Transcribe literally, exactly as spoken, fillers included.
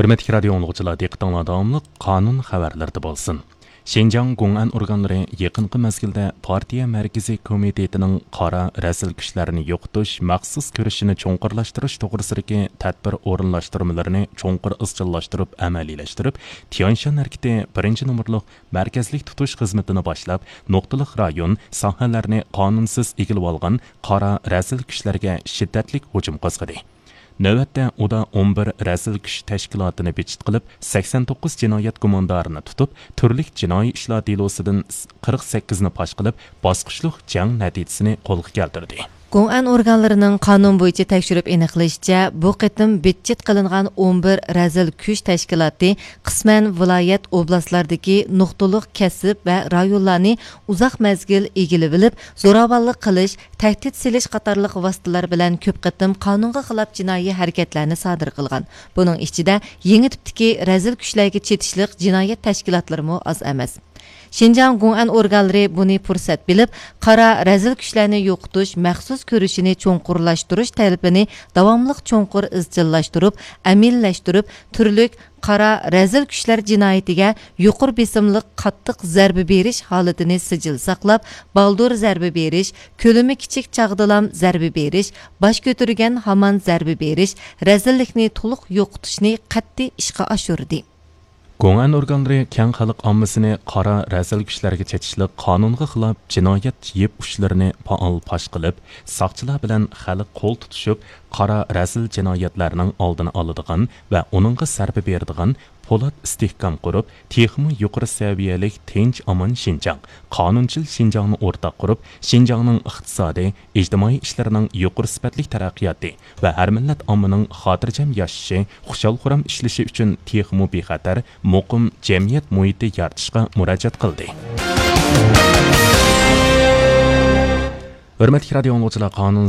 ھۆرمەتلىك رادىئو ئاڭلىغۇچىلار، دىققىتىڭلار داۋاملىق قانۇن خەۋەرلىرىدە بولسۇن. شىنجاڭ گوڭئەن ئورگانلىرى يېقىنقى مەزگىلدە پارتىيە مەركىزىي كومىتېتىنىڭ قارا رەزىل كۈچلەرنى يوقىتىش مەخسۇس كۈرىشىنى چوڭقۇرلاشتۇرۇش توغرىسىدىكى تەدبىر ئورۇنلاشتۇرمىلىرىنى چوڭقۇر ئىزچىللاشتۇرۇپ ئەمەلىيلەشتۈرۈپ، تيەنشان ھەرىكىتى بىرىنچى نومۇرلۇق مەركەزلىك تۇتۇش خىزمىتىنى باشلاپ، نۇقتىلىق رايون، ساھەلەرنى قانۇنسىز ئىگىلىۋالغان قارا رەزىل كۈچلەرگە شىددەتلىك ھۇجۇم قوزغىدى. نۆۋەتتە ئۇدا ئون بىر رەزىل كۈچ تەشكىلاتىنى بىچىت قىلىپ، سەكسەن توققۇز جىنايەت گۇماندارىنى تۇتۇپ، تۈرلۈك جىنايى ئىشلار دېلوسىدىن قىرىق سەككىزنى پاش قىلىپ، باسقۇچلۇق جەڭ نەتىجىسىنى قولغا كەلتۈردى. گوڭئەن ئورگانلىرىنىڭ قانۇن بويىچە تەكشۈرۈپ ئېنىقلىشىچە، بۇ قېتىم بىچىت قىلىنغان ئون بىر رەزىل كۈچ تەشكىلاتى قىسمەن ۋىلايەت، ئوبلاستلاردىكى نۇقتىلىق كەسىپ ۋە رايونلارنى ئۇزاق مەزگىل ئىگىلىۋېلىپ، زوراۋانلىق قىلىش، تەھدىت سېلىش قاتارلىق ۋاسىتىلەر بىلەن كۆپ قېتىم قانۇنغا خىلاپ جىنايى ھەرىكەتلەرنى سادىر قىلغان. بۇنىڭ ئىچىدە يېڭى تىپتىكى رەزىل كۈچلەرگە چېتىشلىق جىنايەت تەشكىلاتلىرىمۇ ئاز ئەمەس. شىنجاڭ گوڭئەن ئورگانلىرى بۇنى پۇرسەت بىلىپ، قارا رەزىل كۈچلەرنى يوقىتىش مەخسۇس كۈرىشىنى چوڭقۇرلاشتۇرۇش تەلىپىنى داۋاملىق چوڭقۇر ئىزچىللاشتۇرۇپ، ئەمەلىيلەشتۈرۈپ، تۈرلۈك قارا رەزىل كۈچلەر جىنايىتىگە يۇقىرى بېسىملىق قاتتىق زەربە بېرىش ھالىتىنى سىجىل ساقلاپ، بالدۇر زەربە بېرىش، كۆلىمى كىچىك چاغدىلام زەربە بېرىش، باش كۆتۈرگەن ھامان زەربە بېرىش، رەزىللىكنى تولۇق يوقىتىشنى قەتئىي ئىشقا ئاشۇردى. گوڭئەن ئورگانلىرى كەڭ خەلق ئاممىسىنى قارا رەزىل كۈچلەرگە چېتىشلىق قانۇنغا خىلاپ جىنايەت يىپ ئۇچلىرىنى پائال پاش قىلىپ، ساقچىلار بىلەن خەلق قول تۇتۇشۇپ، قارا رەزىل جىنايەتلەرنىڭ ئالدىنى ئالىدىغان ۋە ئۇنىڭغا زەربە بېرىدىغان پولات ئىستىھكام قۇرۇپ، تېخىمۇ يۇقىرى سەۋىيەلىك تىنچ ئامان شىنجاڭ، قانۇنچىل شىنجاڭنى ئورتاق قۇرۇپ، شىنجاڭنىڭ ئىقتىسادىي، ئىجتىمائىي ئىشلىرىنىڭ يۇقىرى سۈپەتلىك تەرەققىياتى ۋە ھەر مىللەت ئاممىنىڭ خاتىرجەم ياشىشى، خۇشال-خۇرام ئىشلىشى ئۈچۈن تېخىمۇ بىخەتەر، مۇقىم جەمئىيەت مۇھىتى يارىتىشقا مۇراجىئەت قىلدى. ھۆرمەتلىك رادىئو ئاڭلىغۇچىلار، قانۇن